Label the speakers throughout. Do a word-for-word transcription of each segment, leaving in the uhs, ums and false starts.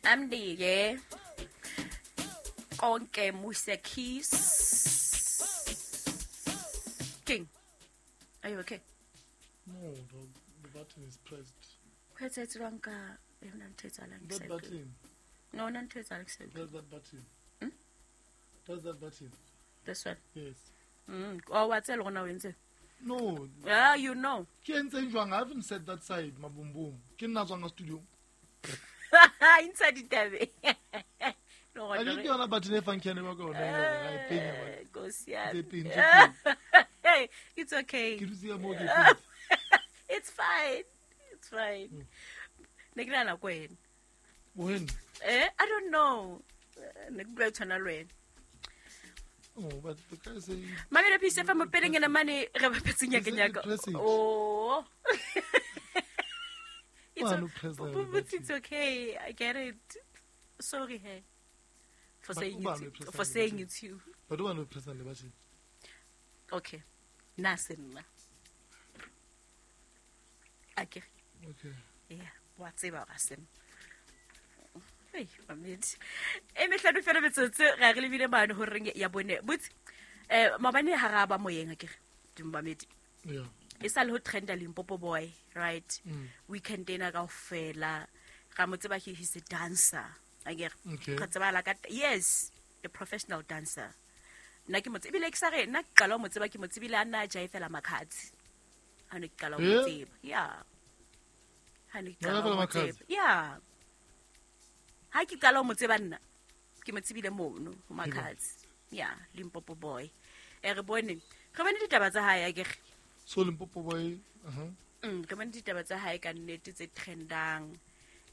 Speaker 1: Amnike konke Musa Keys. King, are you okay?
Speaker 2: No, the, the button is pressed.
Speaker 1: Ho etsahetse jwang ka yona ntho e etsahalang ke
Speaker 2: That
Speaker 1: sa e utlwe?
Speaker 2: button.
Speaker 1: No, na ntho e etsahalang ke sa e utlwe.
Speaker 2: Press that button.
Speaker 1: Hmm?
Speaker 2: Press that button.
Speaker 1: This one.
Speaker 2: Yes.
Speaker 1: Mm. Oh, wa tseba le gona o entse.
Speaker 2: No.
Speaker 1: Yeah, you know.
Speaker 2: Ke entseng jwang? I haven't said that side, maboom boom. Ke nna tswang ka studio.
Speaker 1: Intsha ditabe. Le
Speaker 2: A
Speaker 1: gona
Speaker 2: ke
Speaker 1: re-
Speaker 2: ke yona button e function ba ka yona e leng hore ha e penya ba.
Speaker 1: Eh, Nkosi yami.
Speaker 2: Tse pedi, tse
Speaker 1: Hey, it's okay.
Speaker 2: Ke dutse ka moo ke e penya.
Speaker 1: It's fine. It's fine. Ne ke nahana ko wena.
Speaker 2: When?
Speaker 1: Eh, I don't know. Eh, Ne ke bua tshwana le wena.
Speaker 2: Oh, but the guy say
Speaker 1: Mamelo Peace F M peleng ena mane re bapetseng
Speaker 2: He said
Speaker 1: nyaka nyaka.
Speaker 2: you press it.
Speaker 1: Oh. It's
Speaker 2: Why
Speaker 1: o-
Speaker 2: no press that
Speaker 1: but
Speaker 2: button?
Speaker 1: it's okay. I get it. Sorry, hey. For
Speaker 2: But
Speaker 1: saying
Speaker 2: uba
Speaker 1: it,
Speaker 2: no press
Speaker 1: for
Speaker 2: that
Speaker 1: saying
Speaker 2: button.
Speaker 1: it's you.
Speaker 2: But o no press the button.
Speaker 1: Okay. Nna se nna. Akere.
Speaker 2: Okay.
Speaker 1: Yeah, wa tseba hore ha se nna. Hei, mamedi. E mehlano fela metsotso ra re lebile mane horeng ya bone. Botse, eh maobane ha ra ba moyeng akere, dumamedi.
Speaker 2: Yeah.
Speaker 1: E sa le ho trenda Limpopo boy, right?
Speaker 2: Mm.
Speaker 1: Weekend ena kaofela. Ra mo tseba he he's a dancer. Akere.
Speaker 2: Okay.
Speaker 1: Re tsebala ka yes, a professional dancer. Nna ke mo tsebile ebile ke sa re nna ke qala ho mo tseba ke mo tsebile a nna a jaefela Makhadzi. Ha ne ke qala ho mo
Speaker 2: Eh?
Speaker 1: tseba. Yeah. Ha ne ke qala ho
Speaker 2: Jaefela
Speaker 1: mo
Speaker 2: Makhadzi?
Speaker 1: tseba. Yeah. Ha ke qala ho mo tseba nna ke mo tsebile mono ho Makhadzi. Yeah, Limpopo boy. E re bone, re bone ditaba tsa hae akere.
Speaker 2: So Limpopo boy, uh-huh.
Speaker 1: Mm, re bone ditaba tsa hae ka nnete tse trendang.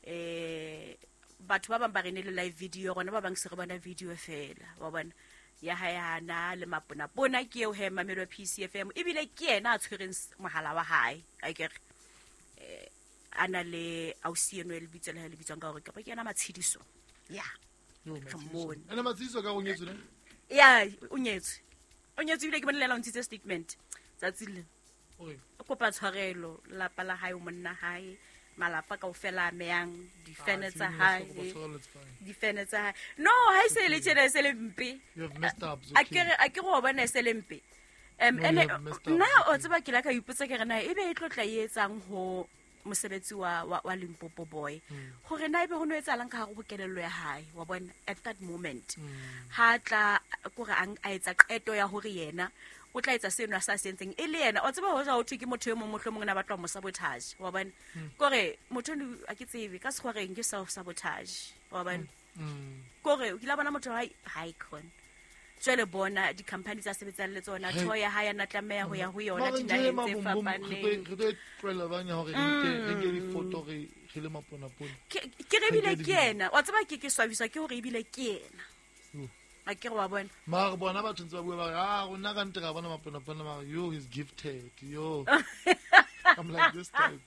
Speaker 1: Eh batho ba bang ba re ne le live video rona ba bang se re bona video fela wa bona ya hae hana le maponapona ke eo he Mamelo P C F M ebile ke yena a tshwereng s-, mohala wa hae akere. Eh a na le ausi eno e lebitso le hae le bitswang ka hore kapa ke yena Matshidiso. Yeah.
Speaker 2: Yo,
Speaker 1: Re
Speaker 2: Matshidiso.
Speaker 1: mmone.
Speaker 2: Ene Matshidiso ka o nyetswe ne?
Speaker 1: Yeah, o nyetswe. O nyetswe ebile ke bone le yena o ntshitse statement tsatsi le.
Speaker 2: Oi.
Speaker 1: O kopa tshwarelo lelapa la hae o monna hae malapa kaofela a meyang difene
Speaker 2: Ah,
Speaker 1: tsa
Speaker 2: seng
Speaker 1: hae.
Speaker 2: kopa tshwarelo, it's fine.
Speaker 1: Difene tsa hae. No, ha e se le tjena e se le mpe.
Speaker 2: You have messed up, it's
Speaker 1: A
Speaker 2: okay.
Speaker 1: ke re, a ke re wa bona e se le mpe. Um,
Speaker 2: No, you
Speaker 1: ene,
Speaker 2: have messed up,
Speaker 1: nna
Speaker 2: it's
Speaker 1: o
Speaker 2: okay.
Speaker 1: tseba ke la ka ipotsa ke re na ebe e tlo tla e etsang ho mosebetsi wa, wa, wa Limpopo boy.
Speaker 2: Mm.
Speaker 1: Hore na ebe ho no etsahalang ka hare ho kelello ya hae, wa bona, at that moment.
Speaker 2: Mm.
Speaker 1: Ha tla kore a, a etsa qeto ya hore yena o tla etsa seno a sa se entseng e le yena. O tseba ho ja ho thwe ke motho e mong mohlomong na batla ho mo sabotage, wa bona.
Speaker 2: Mm.
Speaker 1: Kore motho ono a ke tsebe ka sekgowa reng ke self sabotage, wa bona.
Speaker 2: Mm.
Speaker 1: Kore o kile wa bona motho ha ha icon. Jwale bona di-company tsa sebetsang le tsona,
Speaker 2: Hey.
Speaker 1: thoya ha ya na tlameha ho ya ho yona
Speaker 2: Mara
Speaker 1: dinaheng
Speaker 2: nje
Speaker 1: tse
Speaker 2: Maboom Boom, re tlo-
Speaker 1: fapaneng.
Speaker 2: re tlo e tlohela bang ya hore re nke, re nke di-photo re, re le maponapona.
Speaker 1: Ke, ke re ebile
Speaker 2: Re nke
Speaker 1: ke
Speaker 2: di-video.
Speaker 1: yena. Wa tseba ke, ke swabiswa ke hore ebile ke yena.
Speaker 2: Yo.
Speaker 1: A ke re wa bona.
Speaker 2: Mara bona batho ntse ba bua ba re, ah, rona ka nnete ra bona maponapona, mara yo, he's gifted, yo. I'm like this type.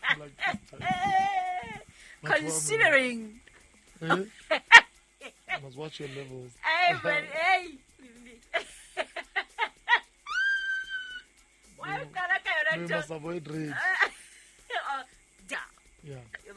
Speaker 2: I'm like this type. Batho ba mo-
Speaker 1: Considering.
Speaker 2: Eh? You must watch your levels.
Speaker 1: Hey, but hey. Why
Speaker 2: No.
Speaker 1: o qala ka yona
Speaker 2: We
Speaker 1: ntho?
Speaker 2: must avoid rage.
Speaker 1: Oh, da.
Speaker 2: Yeah.